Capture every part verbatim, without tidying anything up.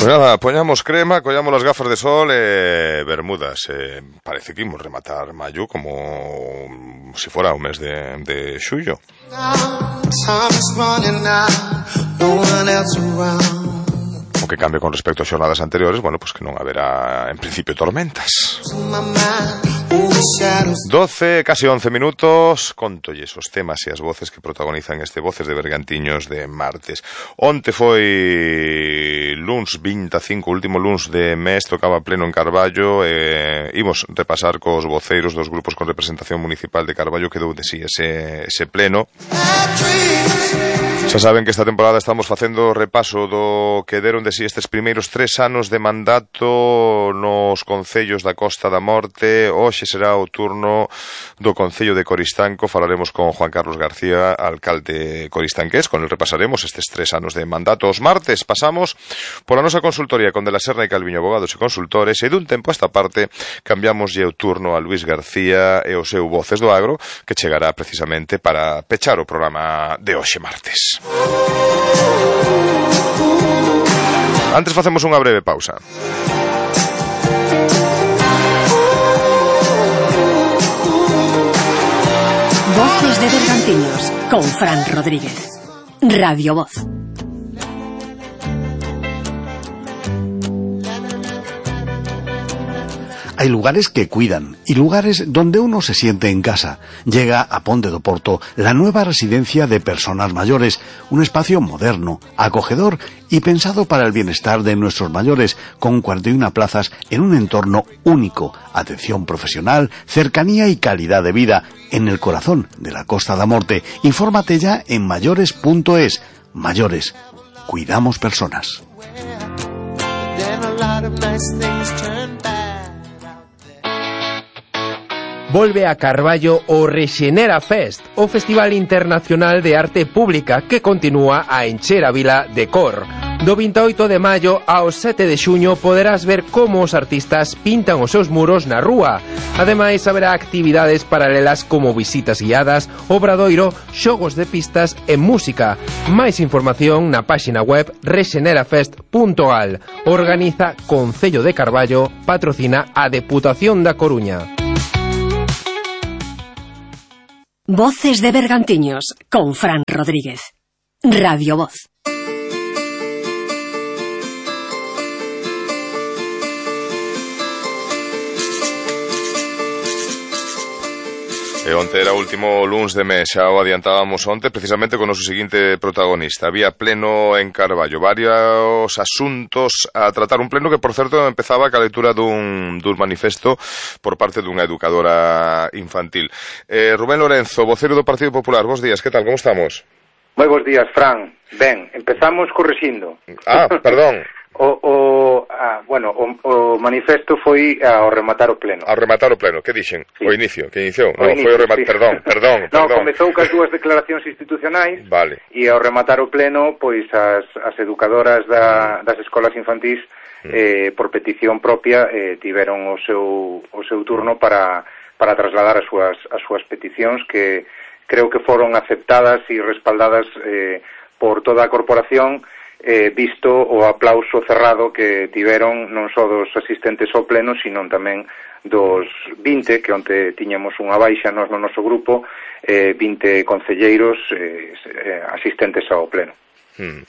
Pues nada, poñamos crema, collamos las gafas de sol e eh, bermudas. Eh, parece que imos rematar maio como si fora o mes de, de xullo. O que cambie con respecto a xornadas anteriores, bueno, pues que non haberá en principio tormentas. doce, casi once minutos, contolles os temas e as voces que protagonizan este Voces de Bergantiños de martes. Onte foi luns vinte e cinco, último luns de mes, tocaba pleno en Carballo, e imos repasar cos voceiros dos grupos con representación municipal de Carballo que dou de si ese, ese pleno. Xa saben que esta temporada estamos facendo repaso do que deron de si estes primeiros tres anos de mandato nos concellos da Costa da Morte. Hoxe será o turno do Concello de Coristanco. Falaremos con Juan Carlos García, alcalde coristanqués. Con el repasaremos estes tres anos de mandato. Os martes pasamos pola nosa consultoría con De la Serna e Calviño, abogados e consultores, e dun tempo a esta parte cambiamos o turno a Luis García e o seu Voces do Agro, que chegará precisamente para pechar o programa de hoxe martes. Antes facemos unha breve pausa. Voces de Bergantiños con Fran Rodríguez. Radio Voz. Hay lugares que cuidan y lugares donde uno se siente en casa. Llega a Ponte do Porto la nueva residencia de personas mayores, un espacio moderno, acogedor y pensado para el bienestar de nuestros mayores, con cuarenta y una plazas en un entorno único, atención profesional, cercanía y calidad de vida, en el corazón de la Costa da Morte. Infórmate ya en mayores punto es. Mayores, cuidamos personas. Volve a Carballo o Rexenera Fest, o Festival Internacional de Arte Pública que continúa a encher a vila de cor. Do vinte e oito de maio ao sete de xuño poderás ver como os artistas pintan os seus muros na rúa. Ademais, haberá actividades paralelas como visitas guiadas, obradoiro, xogos de pistas e música. Máis información na páxina web rexenerafest punto gal. Organiza Concello de Carballo, patrocina a Deputación da Coruña. Voces de Bergantiños con Fran Rodríguez. Radio Voz. E onte era o último luns de mes, xa o adiantábamos onte, precisamente con o noso seguinte protagonista. Había pleno en Carballo, varios asuntos a tratar. Un pleno que, por certo, empezaba ca lectura dun, dun manifesto por parte dunha educadora infantil. Eh, Rubén Lorenzo, vocero do Partido Popular, bos días, que tal, como estamos? Moi bos días, Fran. Ben, empezamos correxindo. Ah, perdón. O, o, ah, bueno, o, o manifesto foi ao rematar o pleno. Ao rematar o pleno, que dixen? Sí. O inicio, que iniciou? O non, inicio, foi o rematar, sí. perdón, perdón, no, perdón. comezou cas dúas declaracións institucionais. Vale. E ao rematar o pleno, pois as, as educadoras da, das escolas infantís, mm. eh, por petición propia, eh, tiveron o seu, o seu turno para, para trasladar as súas, as súas peticións, que creo que foron aceptadas e respaldadas eh, por toda a corporación, eh, visto o aplauso cerrado que tiveron non só dos asistentes ao pleno, sino tamén dos vinte, que onte tiñamos unha baixa nos no noso grupo, eh, vinte concelleiros eh, asistentes ao pleno. Hmm.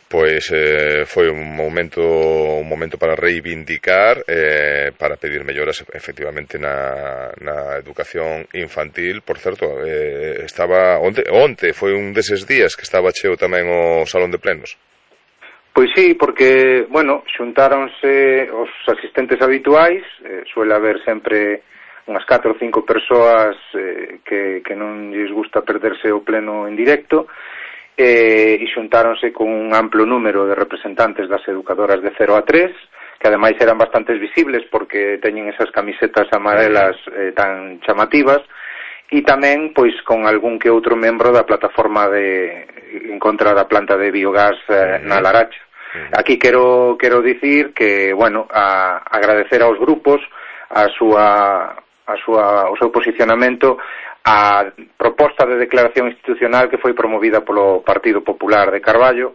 Pois eh, foi un momento un momento para reivindicar, eh, para pedir melloras efectivamente na, na educación infantil. Por certo, eh, estaba onte, onte foi un deses días que estaba cheo tamén o salón de plenos. Pois sí, porque, bueno, xuntáronse os asistentes habituais, eh, suele haber sempre unhas catro ou cinco persoas eh, que, que non lles gusta perderse o pleno en directo, eh, e xuntáronse con un amplo número de representantes das educadoras de cero a tres, que ademais eran bastantes visibles porque teñen esas camisetas amarelas eh, tan chamativas, e tamén, pois, con algún que outro membro da plataforma de en contra da planta de biogás eh, na Laracha. Aquí quero quero dicir que, bueno, a, agradecer aos grupos a súa a súa o seu posicionamento a proposta de declaración institucional que foi promovida polo Partido Popular de Carballo,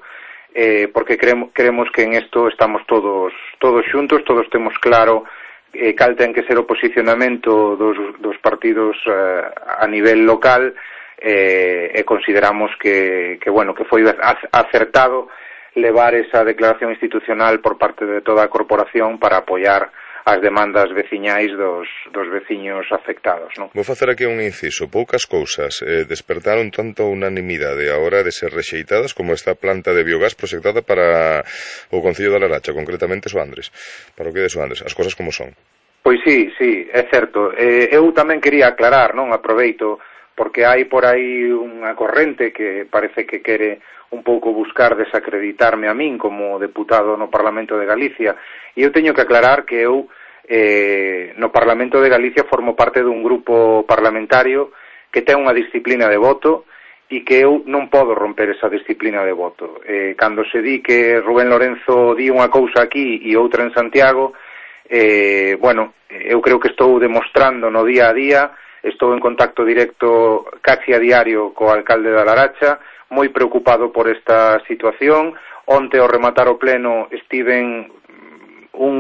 eh, porque creemos, creemos que en isto estamos todos todos xuntos, todos temos claro eh, cal ten que ser o posicionamento dos, dos partidos eh, a nivel local, eh, e consideramos que, que, bueno, que foi acertado levar esa declaración institucional por parte de toda a corporación para apoiar as demandas veciñais dos, dos veciños afectados, non? Vou facer aquí un inciso. Poucas cousas eh, despertaron tanta unanimidade a hora de ser rexeitadas como esta planta de biogás proxectada para o Concello da Laracha, concretamente Soandres, para o que de Soandres, as cousas como son. Pois sí, sí, é certo. Eh, eu tamén quería aclarar, non, aproveito, porque hai por aí unha corrente que parece que quere un pouco buscar desacreditarme a min como deputado no Parlamento de Galicia, e eu teño que aclarar que eu eh, no Parlamento de Galicia formo parte dun grupo parlamentario que ten unha disciplina de voto e que eu non podo romper esa disciplina de voto. Eh, cando se di que Rubén Lorenzo di unha cousa aquí e outra en Santiago, eh, bueno, eu creo que estou demostrando no día a día, estou en contacto directo casi a diario co alcalde da Laracha, moi preocupado por esta situación. Onte, ao rematar o pleno, estiven un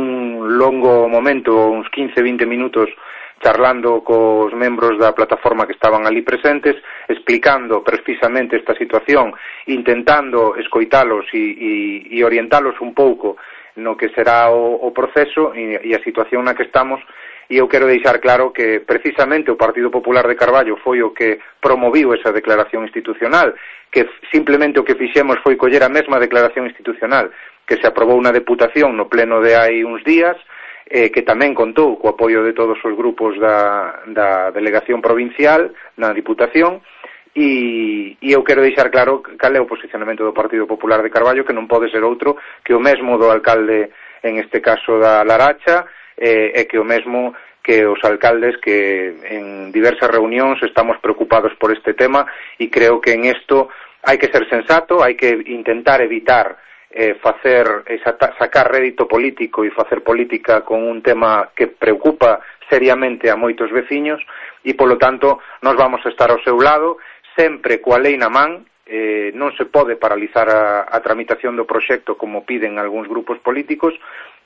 longo momento, uns quince a vinte minutos, charlando cos membros da plataforma que estaban ali presentes, explicando precisamente esta situación, intentando escoitalos e, e, e orientalos un pouco no que será o, o proceso e, e a situación na que estamos. E eu quero deixar claro que precisamente o Partido Popular de Carballo foi o que promoviu esa declaración institucional, que simplemente o que fixemos foi coller a mesma declaración institucional que se aprobou na Deputación no pleno de hai uns días, eh, que tamén contou co apoio de todos os grupos da, da delegación provincial na Diputación, e, e eu quero deixar claro cal é o posicionamento do Partido Popular de Carballo, que non pode ser outro que o mesmo do alcalde, en este caso da Laracha, eh, e que o mesmo que os alcaldes que en diversas reunións estamos preocupados por este tema, e creo que en isto hai que ser sensato, hai que intentar evitar eh, facer, eh, sacar rédito político e facer política con un tema que preocupa seriamente a moitos veciños, e polo tanto nos vamos a estar ao seu lado, sempre coa lei na man. Eh, non se pode paralizar a, a tramitación do proxecto como piden algúns grupos políticos,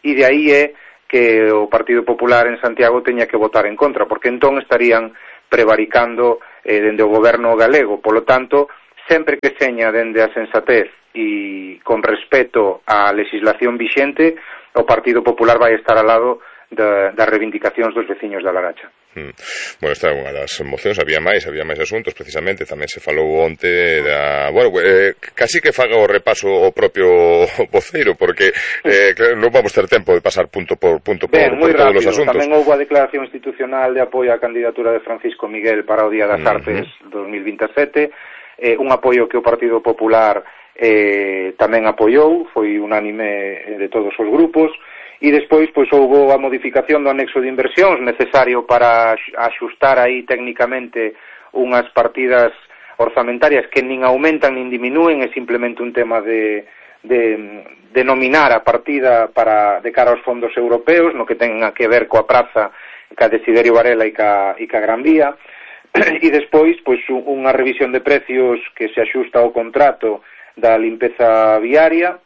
e de aí é que o Partido Popular en Santiago teña que votar en contra, porque entón estarían prevaricando eh, dende o goberno galego. Polo tanto, sempre que seña dende a sensatez e con respeto á legislación vixente, o Partido Popular vai estar ao lado da, das reivindicacións dos veciños da Laracha. Hmm. Bueno, esta é unha das mocións, había máis, había máis asuntos, precisamente, tamén se falou onte da... Bueno, eh, casi que faga o repaso o propio voceiro, porque eh, claro, non vamos ter tempo de pasar punto por punto por, Ben, por todos rápido. os asuntos. Tamén houve a declaración institucional de apoio á candidatura de Francisco Miguel para o Día das uh-huh. Artes dos mil veintisiete, eh, un apoio que o Partido Popular eh, tamén apoiou, foi unánime de todos os grupos. E despois, pois, houve a modificación do anexo de inversións necesario para axustar aí técnicamente unhas partidas orzamentarias que nin aumentan nin diminúen, é simplemente un tema de, de, de nominar a partida para, de cara aos fondos europeos, no que tenga que ver coa praza, ca Desiderio Varela e ca, e ca Gran Vía. E despois, pois, unha revisión de precios que se axusta ao contrato da limpeza viaria,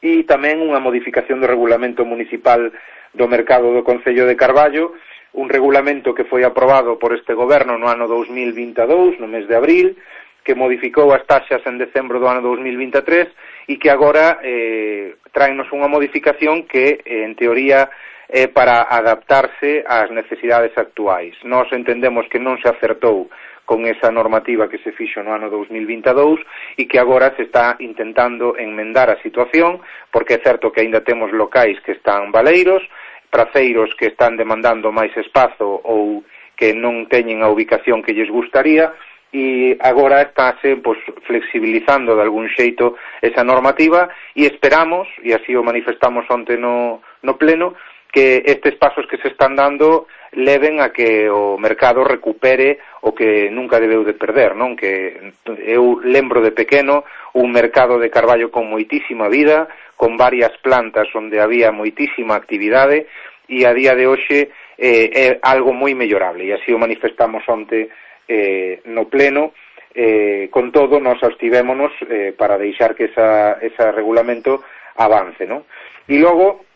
e tamén unha modificación do regulamento municipal do mercado do Concello de Carballo, un regulamento que foi aprobado por este goberno no ano dos mil vinte e dous, no mes de abril, que modificou as taxas en decembro do ano dos mil vinte e tres e que agora eh, traenos unha modificación que, eh, en teoría, é para adaptarse ás necesidades actuais. Nós entendemos que non se acertou con esa normativa que se fixo no ano dos mil vinte e dous e que agora se está intentando enmendar a situación, porque é certo que aínda temos locais que están baleiros, praceiros que están demandando máis espazo ou que non teñen a ubicación que lles gustaría, e agora estáse pois, flexibilizando de algún xeito esa normativa, e esperamos, e así o manifestamos onte no, no pleno, que estes pasos que se están dando leven a que o mercado recupere o que nunca debeu de perder, non? Que eu lembro de pequeno un mercado de Carballo con moitísima vida, con varias plantas onde había moitísima actividade, e a día de hoxe eh, é algo moi mellorable, e así o manifestamos onte eh, no pleno, eh, con todo, nos abstivémonos eh, para deixar que esa, ese regulamento avance, non? E logo,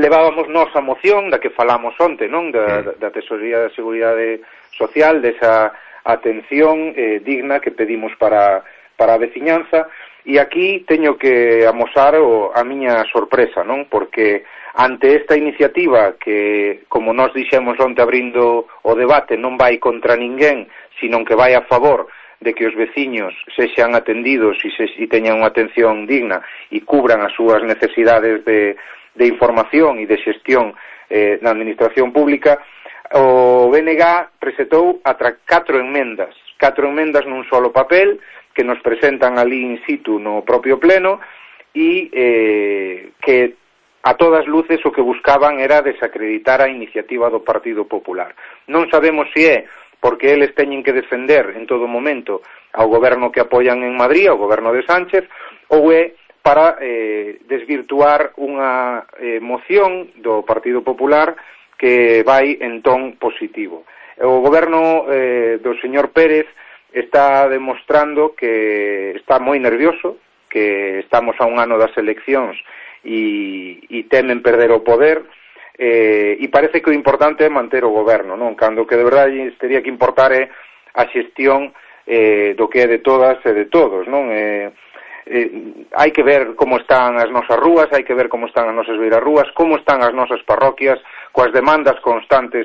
levábamos nos a moción da que falamos onte, non? Da, da, da Tesorería da Seguridade Social, desa atención eh, digna que pedimos para, para a veciñanza, e aquí teño que amosar o, a miña sorpresa, non? Porque ante esta iniciativa que, como nos dixemos onte abrindo o debate, non vai contra ninguén, sino que vai a favor de que os veciños sexan atendidos e, se, e teñan unha atención digna e cubran as súas necesidades de, de información e de xestión eh, na administración pública, o B N G presentou atra catro enmendas, catro enmendas nun solo papel, que nos presentan ali in situ no propio pleno e eh, que a todas luces o que buscaban era desacreditar a iniciativa do Partido Popular. Non sabemos se é porque eles teñen que defender en todo momento ao goberno que apoian en Madrid, ao goberno de Sánchez, ou é para eh, desvirtuar unha eh, moción do Partido Popular que vai en ton positivo. O goberno eh, do señor Pérez está demostrando que está moi nervioso, que estamos a un ano das eleccións e, e temen perder o poder, eh, e parece que o importante é manter o goberno, non? Cando que de verdade teria que importar é a xestión eh, do que é de todas e de todos, non? Eh, eh, hai que ver como están as nosas rúas, hai que ver como están as nosas beirarrúas, como están as nosas parroquias, coas demandas constantes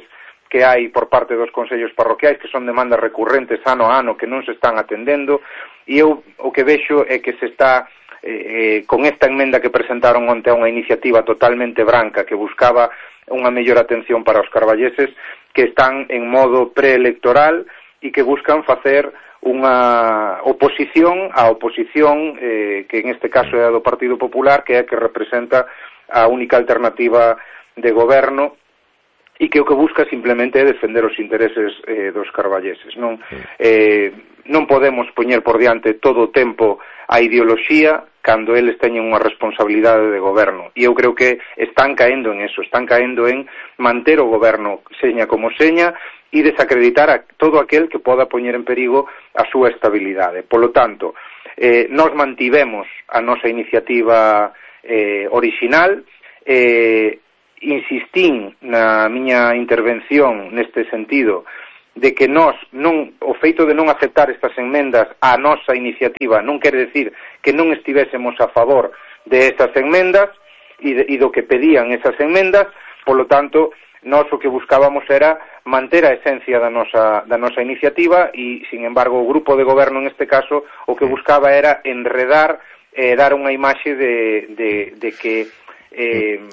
que hai por parte dos consellos parroquiais, que son demandas recurrentes ano a ano que non se están atendendo, e eu o que vexo é que se está eh, con esta enmenda que presentaron onte a unha iniciativa totalmente branca que buscaba unha mellor atención para os carballeses, que están en modo preelectoral e que buscan facer unha oposición á oposición eh, que en este caso é a do Partido Popular, que é a que representa a única alternativa de goberno e que o que busca simplemente é defender os intereses eh, dos carballeses, non? Eh, non podemos poñer por diante todo o tempo a ideoloxía cando eles teñen unha responsabilidade de goberno, e eu creo que están caendo en eso, están caendo en manter o goberno seña como seña e desacreditar a todo aquel que poda poñer en perigo a súa estabilidade. Polo tanto, eh, nos mantivemos a nosa iniciativa eh, orixinal, eh, insistín na miña intervención neste sentido de que nós non, o feito de non aceptar estas enmendas á nosa iniciativa non quere decir que non estivésemos a favor de estas enmendas e, de, e do que pedían esas enmendas, polo tanto, nós o que buscábamos era manter a esencia da nosa, da nosa iniciativa e, sin embargo, o grupo de goberno, en este caso, o que buscaba era enredar, eh, dar unha imaxe de, de, de que eh,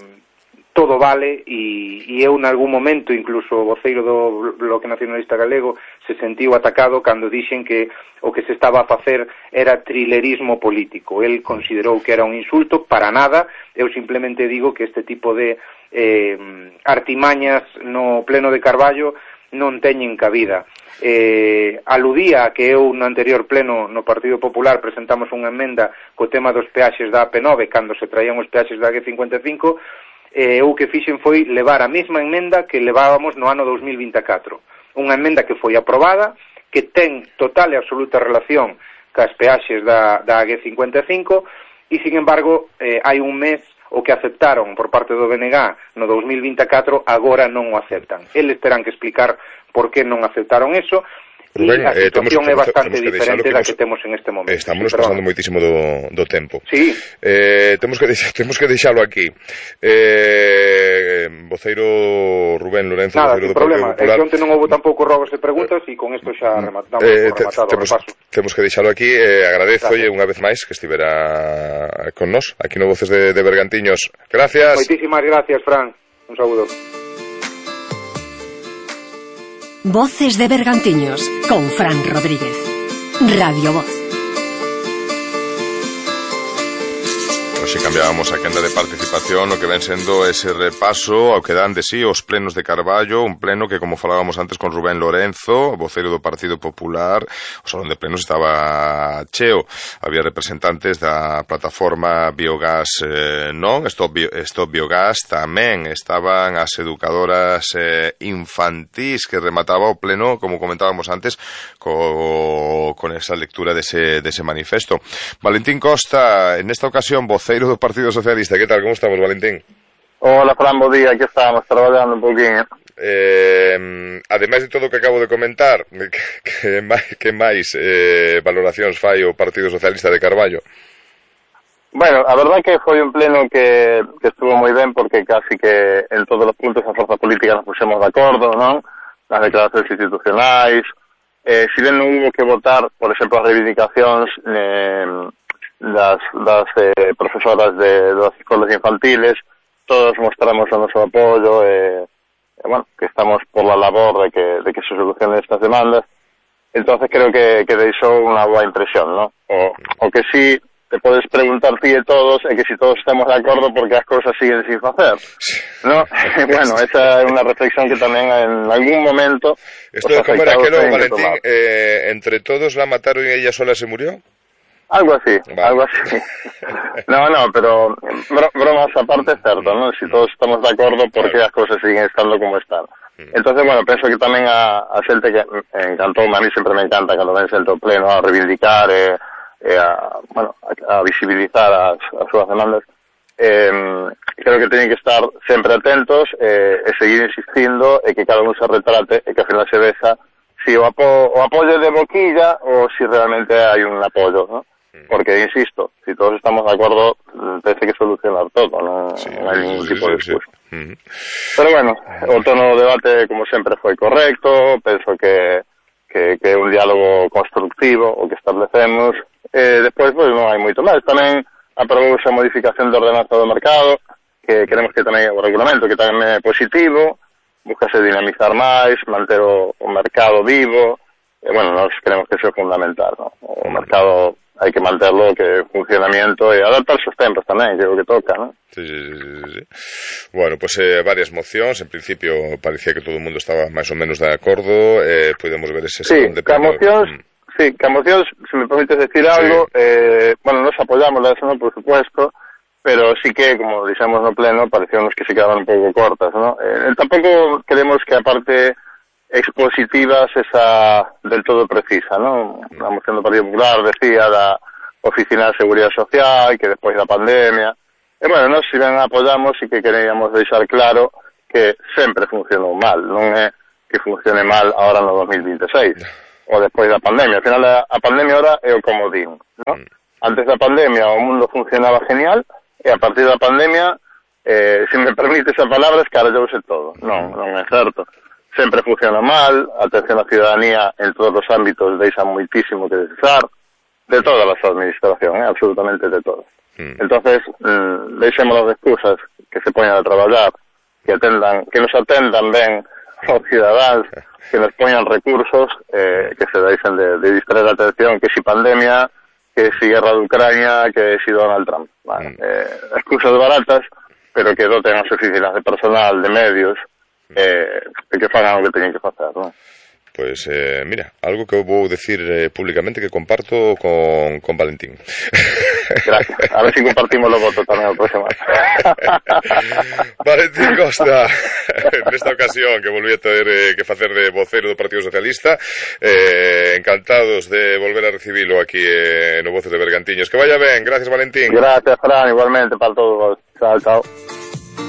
todo vale, e, e eu, en algún momento, incluso o voceiro do Bloque Nacionalista Galego se sentiu atacado cando dixen que o que se estaba a facer era trilerismo político. El considerou que era un insulto, para nada. Eu simplemente digo que este tipo de eh, artimañas no pleno de Carballo non teñen cabida. Eh, aludía a que eu no anterior pleno no Partido Popular presentamos unha emenda co tema dos peaxes da A P nove cando se traían os peaxes da G cincuenta e cinco. Eh, o que fixen foi levar a mesma emenda que levábamos no ano dos mil vinte e catro. Unha emenda que foi aprobada, que ten total e absoluta relación cas peaxes da, da G cincuenta e cinco, e, sin embargo, eh, hai un mes o que aceptaron por parte do B N G no dos mil vinte e catro, agora non o aceptan. Eles terán que explicar por que non aceptaron eso, Rubén, e a situación eh, é bastante temos que diferente que da nos, que temos en este momento. Estamos sí, pasando moitísimo do, do tempo. Sí. Eh, temos que deixar, temos que deixalo aquí. Eh, voceiro Rubén Lorenzo, Nada, voceiro sin do problema. Partido Popular. É que onte non houve tampouco robos e preguntas e con isto xa rematamos eh, por rematado temos, o repaso. Temos que deixalo aquí. Eh, agradezo Gracias. unha vez máis que estivera con nós aquí no Voces de, de Bergantiños. Gracias. Moitísimas gracias, Fran. Un saúdo. Voces de Bergantiños con Fran Rodríguez. Radio Voz. Hoxe cambiábamos a quenda de participación no que ven sendo ese repaso ao que dan de sí os plenos de Carballo, un pleno que, como falábamos antes con Rubén Lorenzo, voceiro do Partido Popular, o salón de plenos estaba cheo. Había representantes da plataforma Biogás eh, non, Stop, Bio, Stop Biogás, tamén estaban as educadoras eh, infantís que remataba o pleno, como comentábamos antes, co, con esa lectura dese, dese manifesto. Valentín Costa, en esta ocasión, voceiro do Partido Socialista. Que tal, como estamos, Valentín? Hola, Fran, bo día, aquí estamos, traballando un poquinho. Eh, ademais de todo o que acabo de comentar, que, que, que máis eh, valoracións fai o Partido Socialista de Carballo? Bueno, a verdad que foi un pleno que, que estuvo moi ben, porque casi que en todos os puntos a forza política nos puxemos de acordo, non? Nas declaracións institucionais, eh, si ben non hubo que votar, por exemplo, as reivindicacións eh, das, das eh, profesoras de, das escolas infantiles, todos mostramos o noso apoio e, eh, bueno, que estamos por la labor de que, de que se solucionen estas demandas. Entonces creo que, que deixou unha boa impresión, ¿no? O, o que sí te podes preguntar ti e todos é que si todos estamos de acordo porque as cousas siguen sin facer, ¿no? Bueno, esa é unha reflexión que tamén en algún momento... Esto de como era aquelo, Valentín, eh, entre todos la mataron y ella sola se murió? Algo así, vale. algo así. No, no, pero bro, bromas aparte es certo, ¿no? Si todos estamos de acordo, ¿por qué las cosas siguen estando como están? Entonces, bueno, penso que tamén a, a xente que encantou, a mí sempre me encanta cando ven xente ao pleno a reivindicar e, e a, bueno, a, a visibilizar as, as súas demandas. Eh, creo que teñen que estar sempre atentos e, e seguir insistindo e que cada un se retrate e que ao final se veza si o, apo, o apoio de boquilla ou si realmente hai un apoio, ¿no? Porque, insisto, si todos estamos de acuerdo, parece que solucionar todo, no, sí, no hay ningún sí, tipo de discusión. Sí, sí. Pero bueno, o tono do debate, como sempre, foi correcto, penso que que, que é un diálogo constructivo o que establecemos, e despois, pois, non hai moito máis. Tamén aprobouse a modificación de ordenanza do mercado, que queremos que tamén o regulamento, que tamén é positivo, buscase dinamizar máis, manter o, o mercado vivo, e, bueno, nós creemos que iso é fundamental, ¿no? O mercado hai que manterlo, que funcionamiento e adaptar os tempos tamén, que é o que toca, ¿no? Sí, sí, sí, sí. Bueno, pues eh, varias mocións, en principio parecía que todo o mundo estaba máis ou menos de acordo, eh, podemos ver ese sí, que a mocións, mm. sí, que a mocións, se me permites decir sí. algo, eh, bueno, nos apoyamos eso, ¿no? Por supuesto, pero sí que, como dixemos no pleno, parecíamos que se quedaban un pouco cortas, ¿no? Eh, tampouco queremos que a parte expositivas esa del todo precisa, ¿no? La moción do Partido Popular decía da Oficina de Seguridade Social, que despois da pandemia. E, bueno, nós si ben apoyamos e que queríamos deixar claro que sempre funcionou mal, non é que funcione mal ahora no dos mil vinte e seis, ou despois da pandemia. Al final, a, a pandemia ahora é o comodín, ¿no? Antes da pandemia o mundo funcionaba genial, e a partir da pandemia, eh, se me permite esa palabra, escarallouse todo. Non, non é certo. Sempre funciona mal, a atención á ciudadanía en todos os ámbitos deixa moitísimo que desear, de todas as administracións, eh, absolutamente de todas. Mm. Entonces, mm, deixemos as excusas que se poñan a traballar, que atendan, que nos atendan ben os cidadáns, que nos poñan recursos, eh, que se deixen de, de distraer a atención, que si pandemia, que si guerra de Ucrania, que si Donald Trump. Vale, mm. eh, excusas baratas, pero que doten as oficinas de personal, de medios, eh, que fagan o que teñen que facer, non? Pues eh, mira, algo que eu vou decir eh, públicamente que comparto con, con Valentín. Gracias, a ver si compartimos o voto tamén o próximo. Valentín Costa, nesta ocasión que volví a ter eh, que facer de vocero do Partido Socialista, eh, encantados de volver a recibilo aquí eh, no Voces de Bergantiños. Que vaya ben, gracias Valentín. Gracias, Fran, igualmente para todos vos. Chao, chao.